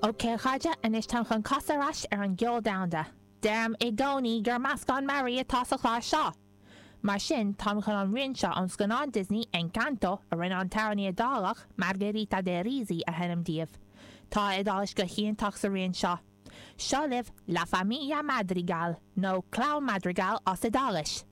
Ok a chairde, anois táim chun casadh ar ais ar an gceol domhanda. Deirim i gcónaí gur meascán mearaí atá sa chlár seo! Mar sin, táim chun an rian seo ón scannán Disney, Encanto, a rinne an t-amhránaí Iodálach, Margherita De Risi, a sheinm daoibh. Tá a Iodáilis go hiontach sa rian seo. Seo libh La Famiglia Madrigal, nó Clann Madrigal as Iodáilis.